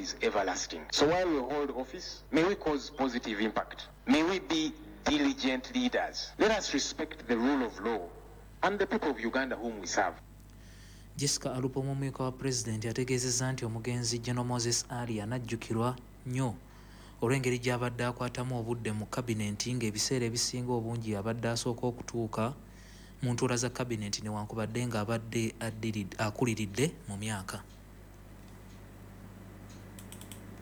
is everlasting. So while we hold office, may we cause positive impact. May we be diligent leaders. Let us respect the rule of law and the people of Uganda whom we serve. Jessica Alupo omumyuka wa pulezidenti ategeezezza nti omugenzi General Moses Ali anajjukirwa nnyo olw'engeri gy'abadde akwatamu obudde mu kabinenti ng'ebiseera ebisinga obungi abadde asooka okutuuka mu ntuula za kabinenti newankubadde ng'abadde akuliridde mu myaka.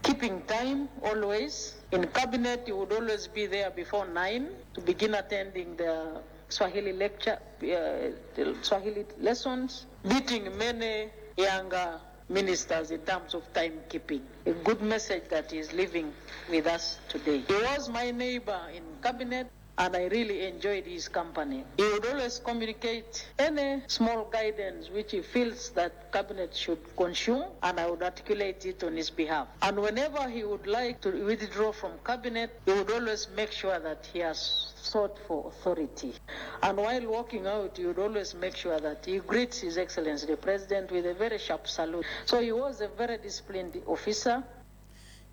Keeping time always. In cabinet, you would always be there before 9 to begin attending the Swahili lecture, the Swahili lessons, beating many younger ministers in terms of timekeeping. A good message that is living with us today. He was my neighbor in cabinet, and I really enjoyed his company. He would always communicate any small guidance which he feels that cabinet should consume, and I would articulate it on his behalf. And whenever he would like to withdraw from cabinet, he would always make sure that he has sought for authority. And while walking out, he would always make sure that he greets His Excellency the President with a very sharp salute. So he was a very disciplined officer.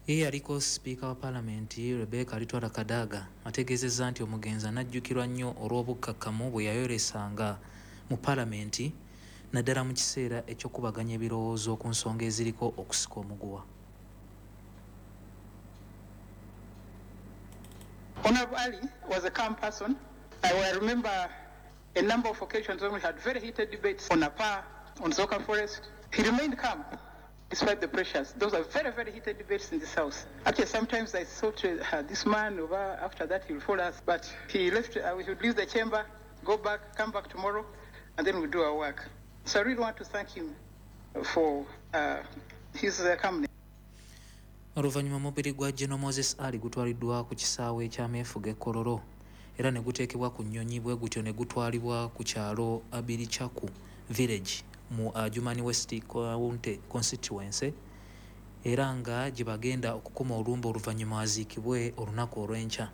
Ye yaliko sipiika wa paalamenti Rebecca Alitwala Kadaga ategeezezza nti omugenzi anajjukirwa nnyo olw'obukkakkamu bwe yayolesanga mu paalamenti naddala mu kiseera eky'okubaganya ebirowoozo ku nsonga eziriko okusika omuguwa. Honorable Ali was a calm person. I remember a number of occasions when we had very heated debates on Apa, on Zoka Forest. He remained calm despite the pressures. Those are very, very heated debates in this house. Actually, sometimes I thought this man, over after that, he will follow us. But he left, we should leave the chamber, go back, come back tomorrow, and then we do our work. So I really want to thank him for his company. Oluvannyuma omubiri gwa General Moses Ali gutwaliddwa ku kisaawe eky'ameefuga e Kololo era ne guteekebwa ku nnyonyi bwe gutyo ne gutwalibwa ku kyalo Abirichaku Village mu Adjumani West County Constituency era nga gye bagenda okukuma olumbe oluvannyuma aziikibwe olunaku olw'enkya.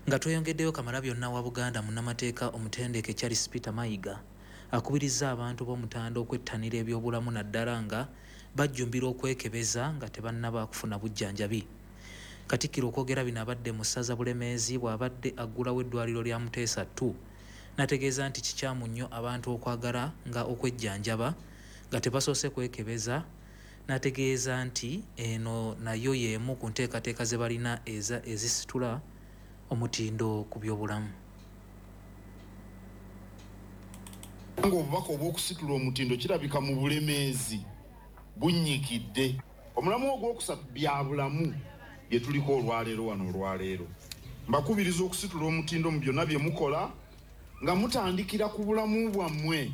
Nga tweyongeddeyo, Kamalabyonna wa Buganda munnamateeka omutendeke Charles Peter Mayiga akubirizza abantu b'Omutanda okwettanira ebyobulamu naddala nga bajjumbira okwekebeza nga tebannaba kufuna bujjanjabi. Katikkiro okwogera bino abadde mu ssaza Bulemeezi bw'abadde aggulawo eddwaliro lya Muteesa II n'ategeeza nti kikyamu nnyo abantu okwagala nga okwejjanjaba nga tebasoose kwekebeza, n'ategeeza nti eno nayo y'emu ku nteekateeka ze balina ezisitula omutindo ku byobulamu. Ng'obubaka obw'okusitula omutindo kirabika mu Bulemeezi bunnyikidde. Omulamu ogwokusatu bya bulamu bye tuliko olwaleero wano olwaleero. Mbakubiriza okusitula omutindo mu byonna bye mukola nga mutandikira ku bulamu bwammwe.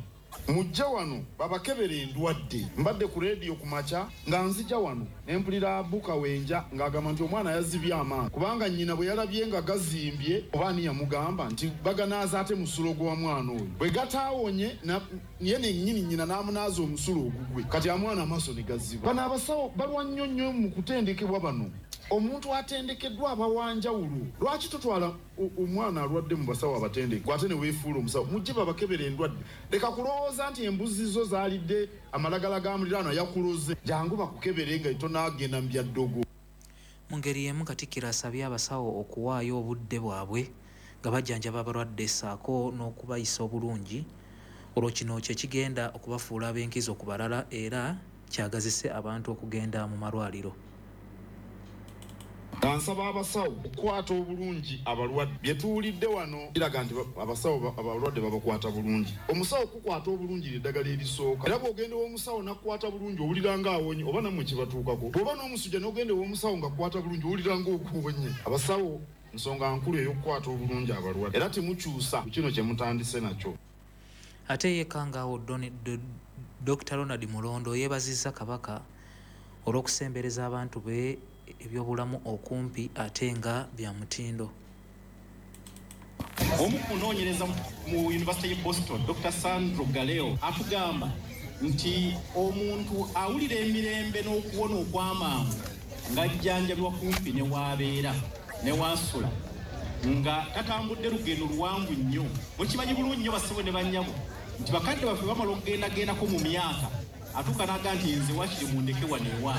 Mujje wano babakebere endwadde. Mbadde ku leediyo ku makya nga nzija wano ne mpulira Buka Wenja ng'agamba nti omwana yazibye amaaso kubanga nnyina bwe yalabye nga gazimbye oba ani yamugamba nti baganaaza ate musulo gwa mwana oyo. Bwe gataawonye ye nennyini nnyina n'amunaaza omusulo ogugwe kati amwana amaaso ne gaziba. Bano abasawo balwa nnyo nnyo mu kutendekebwa bano. Omuntu atendekeddwa aba wa njawulo. Lwaki totwala omwana alwadde mu basawo abatendeke ate ne weefuula omusawo? Mujje babakebere endwadde. Leka kulowooza nti embuzi zo zaalidde amalagala ga muliraano yakuloze. Jangu bakukebere nga tonaagenda mu bya ddogo. Mu ngeri y'emu Katikkiro asabye abasawo okuwaayo obudde bwabwe nga bajjanjaba abalwadde ssaako n'okubayisa obulungi olwo kino kye kigenda okubafuula ab'enkizo ku balala era kyagazise abantu okugenda mu malwaliro. Nsaba abasawo okukwata obulungi abalwadde. Bye tuwulidde wano biraga nti abasawo abalwadde babakwata bulungi. Omusawo okukwata obulungi ly'eddagala erisooka. Era bw'ogenda ew'omusawo n'akukwata bulungi owulira ng'awonye oba nammwe kibatuukako. Bw'oba n'omusujja n'ogenda ew'omusawo ng'akukwata bulungi owulira ng'oguwonye. Abasawo nsonga nkulu ey'okukwata obulungi abalwadde. Era temukyusa ku kino kye mutandise nakyo. Ate ye Kangaawo Dr. Ronald Mulondo yeebazizza Kabaka olw'okusembereza abantu be ebyobulamu okumpi ate nga bya mutindo. Omu kunoonyereza mu University y'e Boston, Dr. Sandro Galeo atugamba nti omuntu awulira emirembe n'okuwona okw'amangu ng'ajjanjabibwa kumpi ne w'abeera ne w'asula nga tatambudde lugendo luwanvu nnyo. Mukimanyi bulungi nnyo bassebo ne bannyabo nti bakadde baffe bamala okugendagendako mu myaka atuuka n'aga nti nze wakiri mundeke wano ewange.